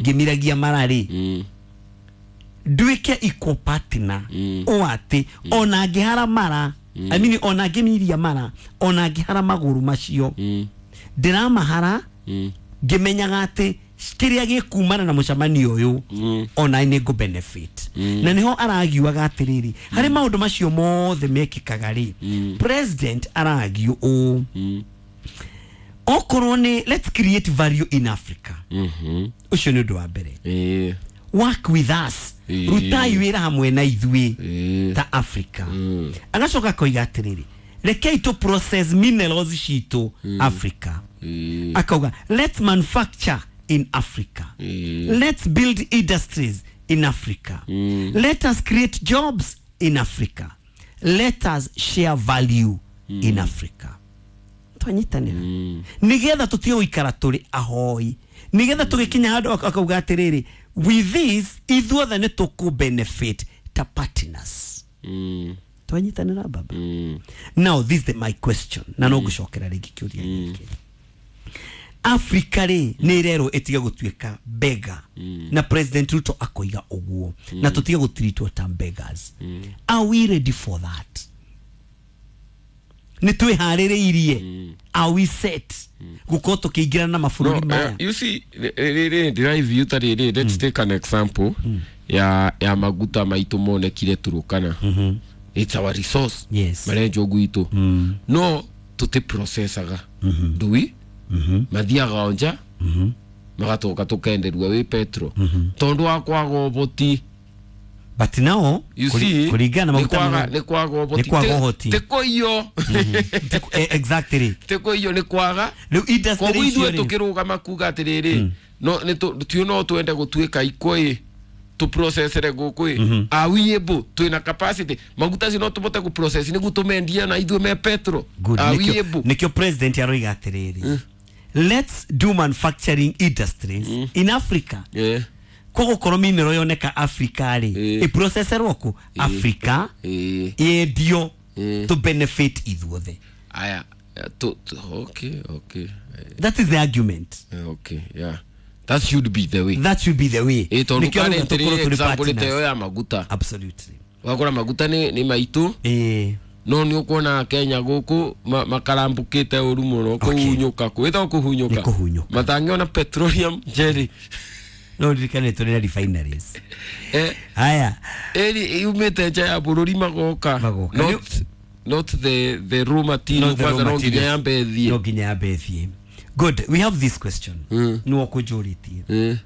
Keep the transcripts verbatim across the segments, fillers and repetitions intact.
Ngĩmiragia mara rĩ, Mm. nduĩke equal partner Mm. o atĩ ona ngĩhara mara, I mean, ona ngĩmiria mara, ona ngĩhara magũrũ macio, Mm. ndĩramahara Mm. ngĩmenyaga atĩ kĩrĩa gĩkumana na mũcemanio ũyũ, Mm. ona nĩ ngũ benefit. Na nĩho aragiuaga atĩrĩrĩ, harĩ maũndũ macio mothe mekĩkaga rĩ, Mm. president aragio ũũ, Mm. okorwo nĩ let's create value in Africa. Mhm. Ũcio nĩ ũndũ wa mbere. Eh. Work with us. Ĩĩ. Rutai wĩra hamwe na ithuĩ Eh. ta Africa. Mm. Agacoka akoiga atĩrĩrĩ, rekei tũ process minerals citũ Africa. Eh. Akauga let's manufacture in Africa. Mm. Let's build industries in Africa. Mm. Let us create jobs in Africa. Let us share value in Africa. Twanyitanĩra nĩgetha tũtige gũikara tũrĩ ahoi, nĩgetha tũgĩkinya handũ ak- akauga atĩrĩrĩ, with this ithuothe nĩ tũkũ benefit ta partners. Mm. Twanyitanĩra, baba. Mm. Now this is the, my question, na no ngũcokera rĩngĩ kĩũria gĩkĩ. Africa rĩ, nĩ ĩrerwo ĩtige gũtuĩka beggar, na President Ruto akoiga ũguo, na tũtige gũtiritwo ta beggars. Are we ready for that? Nĩ twĩharĩrĩirie? Are we set gũkorwo tũkĩingĩrana na mabũrũri No, maya? uh, you see, rĩrĩ ndĩraiview ta rĩrĩ, let's take an example ya ya maguta maitũ monekire Turukana. It's our resource. Yes. Marenjwo gwitũ, no tũtĩ processaga ndui, mathiaga o nja, magatoka tũkenderua wĩ petro tondũ wa kwaga ũhoti. But now You kũri- see, kũringana na nĩ maguta kwaga marĩa- nĩ kwaga ũhoti. Nĩ kwaga Ti- ũhoti. ti kũiywo. Eh, exactly Ti kũiywo, nĩ kwaga. Rĩu industry Koguo icio ithuĩ rĩ, tũkĩrũgama kuga atĩrĩrĩ, no nĩ tũ- tio no twende gũtuĩka ikũ ĩ tũprocessere gũkũ ĩ, are we able? Twĩna capacity? Maguta acio no tũbote gũprocess nĩguo tũmendie na ithuĩ me petro? Good. Are we Nĩkĩo able? Nĩkĩo president aroiga atĩrĩrĩ, let's do manufacturing industries in Africa. Yeah. Koguo mineral yoneka Africa rĩ, Eh. ĩprocesserwo kũ Africa, Eh. yendio Eh. to benefit ithuothe. Aya, eh, tu, tu, okay okay That is the argument. Eh, okay, yeah, that should be the way. That should be the way. Ĩ tondũ Nĩkĩo arauga currently tũkorwo tũrĩ example ta ĩyo partners. ya maguta, Absolutely. wakora maguta nĩ nĩ maitũ, Eh, no nĩ ũkuona Kenya gũkũ ma- makarambũkĩte ũru mũno kũhunyũka, kwĩtagwo kũhunyũka. Nĩ kũhunyũka. Matangĩona petroleum jelly. No ririkane tũrĩ na refineries. Eh, haya. Ĩri yumĩte nja ya bũrũri magoka. Magoka. not, not the, the raw material. Not the raw Kwanza no nginya materials. yambe ĩthiĩ. No nginya yambe ĩthiĩ. Good, we have this question. Mm. Nĩwe ũkũnjũrĩtie. Eh,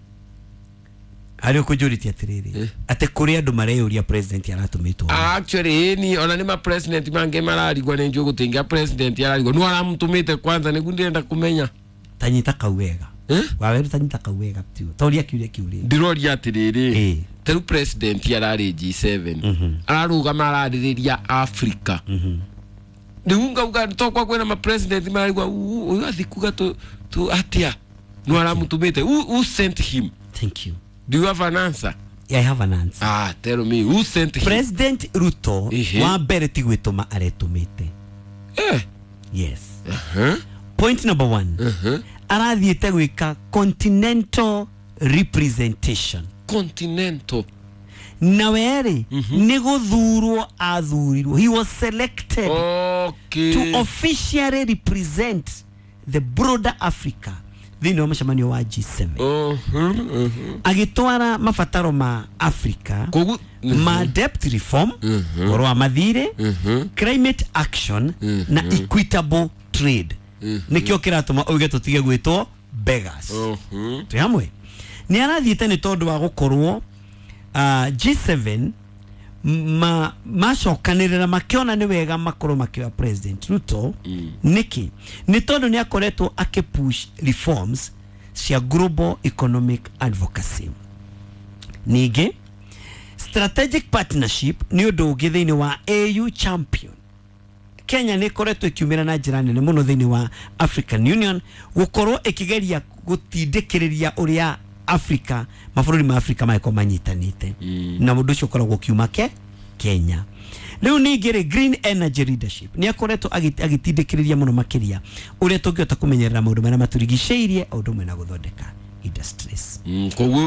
Harĩ ũkũnjũrĩtie atĩrĩrĩ, atĩ kũrĩ andũ mareyũria president aratũmĩtwo. Actually ĩni ona nĩ ma president mangĩ mararigwa, nĩ njũĩ gũtingĩa president ararigwa nĩ aramũtũmĩte kwanza, nĩguo ndĩrenda kũmenya. Tanyita kau wega. Eh? Waweru, tanyita kau wega tio toria kiuria kiu rĩ. Ndĩroria atĩrĩrĩ, Eh. ta rĩu president ararĩ G seven, ararũgama ararĩrĩria Africa, rĩu ngauga tokwa kwĩna ma president mararigwa ũyũ athi kuga tu tu atĩa, nĩ aramũtũmĩte? who, who sent him? Thank you. Do you have an answer? I have an answer. Ah, tell me who sent him. President Ruto, Ehe. wa mbere ti gwĩtũma aretũmĩte. Eh. Yes. Uh-huh. Point number one, Uh-huh. arathiĩte gwĩka continental representation. Continental. Na werĩ nĩ gũthurwo athurirwo, he was selected okay to officially represent the broader Africa thĩinĩ wa mũcemanio wa G seven, Uh-huh, uh-huh. agĩtwara mabataro ma Africa Koguo ma debt reform, ũhoro wa mathirĩ, climate action na equitable trade. Nĩkĩo kĩratũma uge tũtige gwĩtwo beggars. Uh-huh. Twĩ hamwe? Nĩ arathiĩte nĩ tondũ wa gũkorwo uh, G seven ma macokanĩrĩra makĩona nĩ wega makorwo makĩoya President Ruto. Nĩkĩ? Nĩ tondũ nĩ akoretwo akĩpush reforms cia global economic advocacy. Ningĩ strategic partnership nĩ ũndũ ũngĩ thĩinĩ wa A U champion. Kenya nĩ ĩkoretwo ĩkiumĩra na njĩra nene mũno thĩinĩ wa African Union, gũkorwo ĩkĩgeria gũtindĩkĩrĩria ũrĩa Africa, mabũrũri ma Africa magĩkorwo manyitanĩte, na ũndũ ũcio ũkoragwo ũkiuma ke Kenya. Rĩu ningĩ rĩ, green energy leadership, nĩ akoretwo agĩ- agĩtindĩkĩrĩria mũno makĩria ũrĩa tũngĩhota kũmenyerera maũndũ marĩa matũrigicĩirie, o ũndũ ũmwe na gũthondeka Industries. Mm, koguo